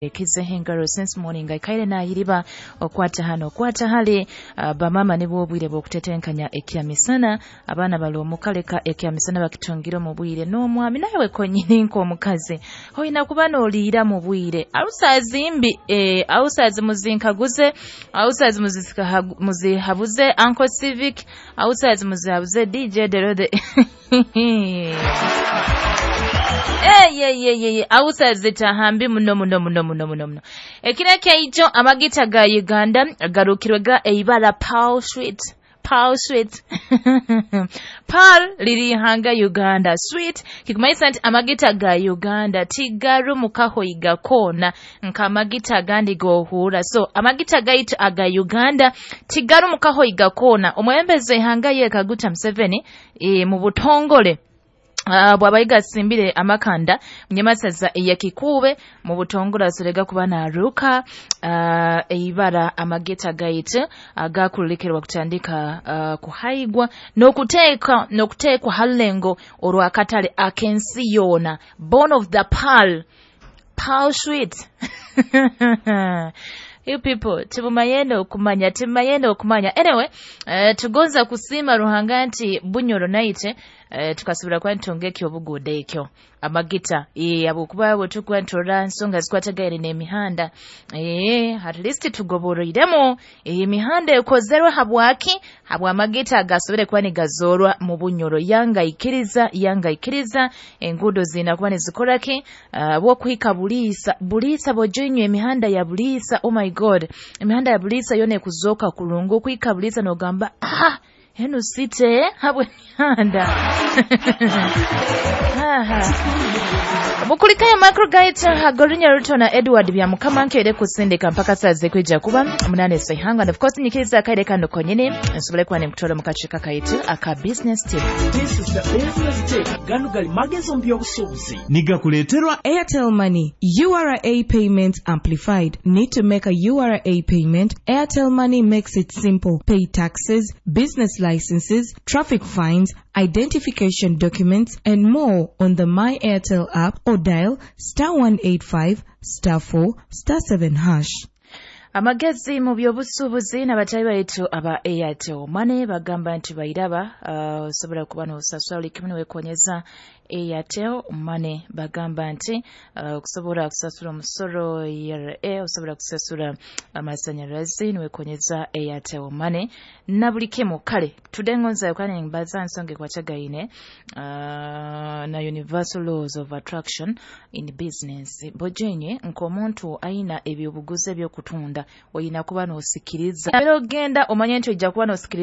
Ekizeho engaro since morning, aikaire nayiriba okwata hano, okwata hali. Bamama nibwo obwire bw'okutetenkanya ekyamisana. Abaana bali omukaleka ekyamisana bakitungire omu bwire, n'omwami nawe konyini nk'omukazi oyina kuba n'oliira mu bwire. Ausazi mbi, ausazi muzinkaguze, ausazi muzihabuze Uncle Civic, ausazi muzihabuze DJ Derode. Eyeyeyeye, ausazi tahambi muno muno muno muno muno muno. Ekiro ekyaijo amagita ga Uganda garukirwe ga eibara Pearl Sweet. Pearl Sweet, Pearl liri ihanga Uganda, Sweet kikumaisa nti amagita ga Uganda tigarumukahoiga koona nk'amagita agandi gohuura. So amagita gaitu aga Uganda tigarumukahoiga koona. Omwebembezi ihanga ye Kaguta Museveni, mu butongole bw'abayiga asimbire amakanda munyamasaza eyakikuube, mu butongole asorega kuba naruka eibara amagita gaitu agakulikerwa kutandika kuhaigwa n'okuteekwa halulengo orwakatale ak'ensi yoona. Born of the Pearl, Pearl Sweet. You people timumayenda okumanya, timumayenda okumanya. Anyway, tugonza kusiima Ruhanga nti Bunyoro naite tukasobora kuba nitunga ekyobuguuda ekyo amagita, habwokuba bwe tukuba niturora nsonga zikwatagaine n'emihanda, at least tugoboroiremu emihanda ekozerwe. Habwaki? Habw'amagita agasobore kuba nigazoorwa mu Bunyoro. Yanga ikiriza, yanga ikiriza, enguudo ziina kuba nizikora ki bwokuhika Buliisa. Buliisa bojoinywa emihanda ya Buliisa, oh my God, emihanda ya Buliisa yona ekuzooka kurungu. Okuhika Buliisa nogamba, "Ah, enu site," habw'emihanda. Mukulikayo microgaita Hagorinya Ruto na Edward Byamukama nkeire kusindika mpaka saa zikwija kuba 8 saihanga. And of course nyikiriza akaire kano konyini nsobole kuba nimkutwala mu kakiiko kaitu aka business tip. This is the business tip. Gano gali magezi mu by'obusuubuzi. Nigakuleeterwa Airtel Money, URA Payments Amplified. Need to make a URA payment? Airtel Money makes it simple. Pay taxes, business licenses, traffic fines, identification documents, and more on the My Airtel app or dial *185*4*7#. Amagezi mu by'obusuubuzi n'abatayi baitu aba Airtel Money bagamba nti bairaba, osobola kuba n'osasula buli kimu niwekonyeza Airtel Money. Bagamba nti okusobola kusasula omusoro ERA, osobola kusasula amasanyalazi niwekonyeza Airtel Money na buli kimu. Kale tudengonza kandi mbaza nsonga ekwatagaine na universal laws of attraction in business. Bojenye nk'omuntu aina ebyobuguzi ebyokutunda, oyina kuba n'osikiriza era ogenda omanye nti ojja kuba n'osikiriza.